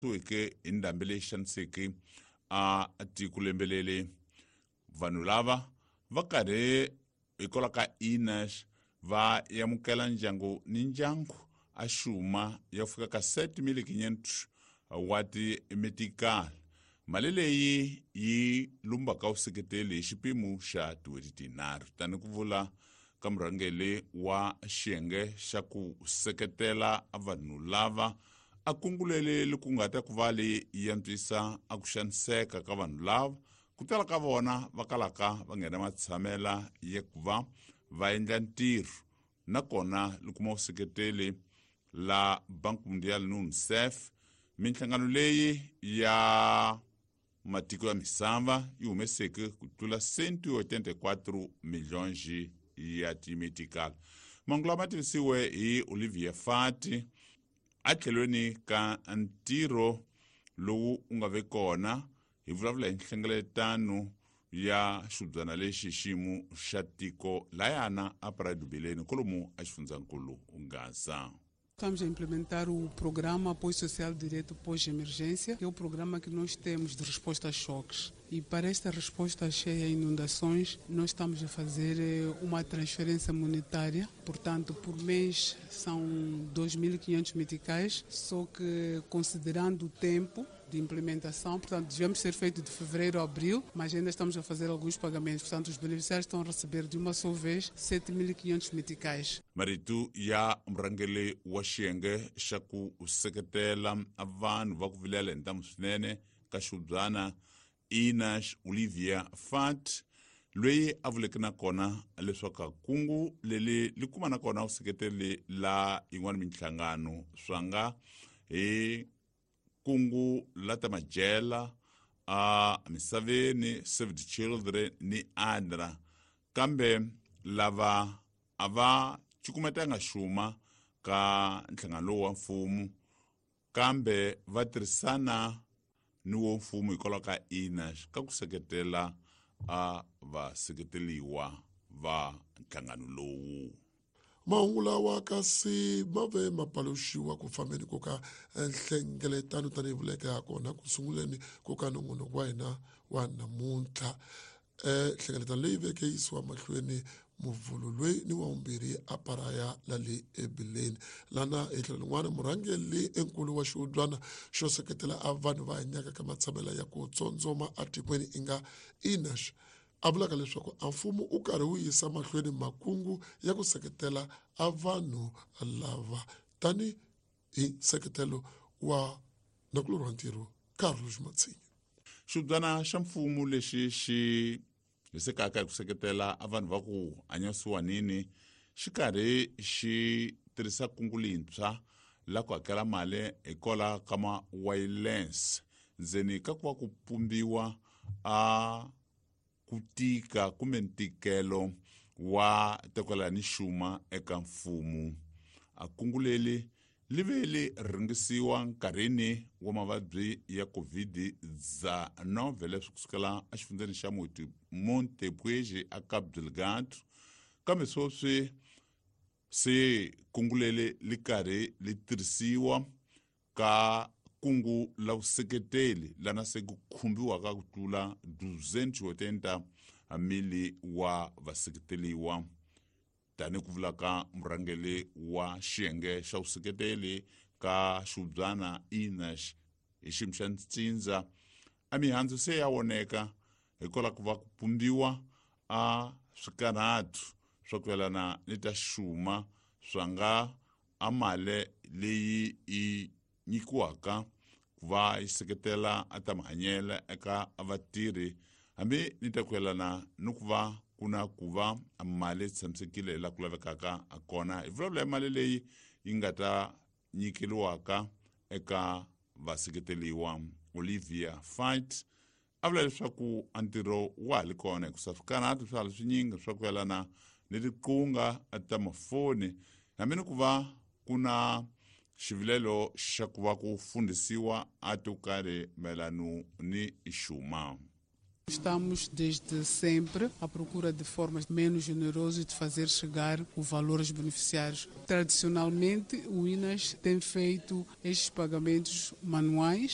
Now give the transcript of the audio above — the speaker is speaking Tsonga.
Suweke hi ndhambi leyi xaniseke a tiko lembe leri. Vanhu lava va karhi hikwalaho ka Inash va amukela ndyangu ni ndyangu a xuma ya ku fika ka 7500 wa ti-metical. Mali leyi yi lumbaka vuseketeli hi xipimo xa tin'hweti tinharhu, tani ku vula ka murhangeri wa xiyenge xa ku seketela vanhu lava a kungulele ku nga ta ku va leyi antswisa a ku xaniseka ka vanhu lava ku tala ka vona va kalaka va nghena matshamela ya ku va va endla ntirho, nakona li kuma vuseketeli la Bank Mundial ni UNICEF. Minhlangano leyi ya matiko ya misava yi humeseke ku tlula 184 milhões ya timetical. Mahungu lama tivisiwe hi Olivia Fati atlhelweni ka ntirho lowu u nga ve kona. Hi vulavula hi nhlengeletano ya xibyana lexi xiyimo xa tiko layana a Praia kolomu a xifundzankulu Gaza. Estamos a implementar o programa Apoio Social Direto Pós-Emergência, que é o programa que nós temos de resposta a choques. E para esta resposta à cheia e inundações, nós estamos a fazer uma transferência monetária. Portanto, por mês são 2.500 meticais, só que considerando o tempo de implementação, portanto, devemos ser feito de fevereiro a abril, mas ainda estamos a fazer alguns pagamentos. Portanto, os beneficiários estão a receber de uma só vez 7.500 meticais. Marito ya murhangeri wa xiyenge xa ku seketela vanhu va ku vilela hi ntamu swinene ka xibyana Inash, Olivia Fat, loyi a vuleke na kona leswaku kungu leri li kuma na kona vuseketeli la yin'wana minhlangano swa nga hi kungu la ta majela a misaveni, Save the Children ni ADRA, kambe lava a va cukumetanga xuma ka nhlangano lowu wa mfumo, kambe va tirhisana ni wo mfumo hikwalaho ka Inash ka ku seketela a vaseketeliwa va nhlangano lowu. Mahungu lawa kasi ma ve ma paluxiwa ku fambeni ko ka nhlengeletano tanihi vuleke ha kona ku sunguleni ko ka nongonoko wa hina wa namuntlha. Nhlengeletano leyi veke yisiwa mahlweni muvhulu loyi ni wa vumbirhi a paraya la le ebileni lana. Hi tlhelo rin'wana, murhangeri enkulu wa xihubyana xo seketela a vanhu va hanyaka ka matshamela ya ku tsondzoma etikweni i nga Inash a vulaka leswaku a mfumo u karhi wu yisa mahlweni makungu ya ku seketela a vanhu lava tani hi nseketelo wa nakulorhi wa ntirho Carlos Matsinya. Xibyana xa mfumo lexi xi hisekaka hi ku seketela a vanhu va ku hanya siwanini xi karhi xi tirhisa kungu lintshwa la ku hakela mali hikwalaho ka ma-wireless ndzeni ka ku va ku pumbiwa a ku tika kumbe ntikelo wa tekwela ni xuma eka mfumo. A kungu leri li ve li rhangisiwa nkarhini wa mavabyi ya COVID-19 leswi kusukela exifundzeni xa Montepuez a Cabo Delgado, kambe sweswi se kungu leri li karhi li tirhisiwa ka kungu la vuseketeli lana se ku khumbiwaka ku tlula 280 mili wa vaseketeliwa, tani ku vula ka murhangeri wa xiyenge xa vuseketeli ka xibyana Inash hi xiyimo xa ntsindza. A mihandzu se ya voneka hikwalaho ku va ku pumbiwa a swikarhatu swa ku yelana ni ta xuma swa nga a mali leyi yi nyikiwaka ku va yi seketela a ta mahanyelo eka vatirhi, hambi ni ta ku yelana ni ku va ku na ku va mali yi tshamisekile laha ku lavekaka kona. Hi vulavula hi mali leyi yi nga ta nyikeriwaka eka vaseketeliwa. Olivia Fight a vula leswaku a ntirho wa ha li kona hikusa swikarhatu swa ha li swinyingi swa ku yelana ni tiqunga ta mafoni, hambi ni ku va ku na xivilelo xa ku va ku fundhisiwa a to karhi mayelano ni xuma. Estamos desde sempre à procura de formas menos onerosas de fazer chegar o valor aos beneficiários. Tradicionalmente, o INAS tem feito estes pagamentos manuais.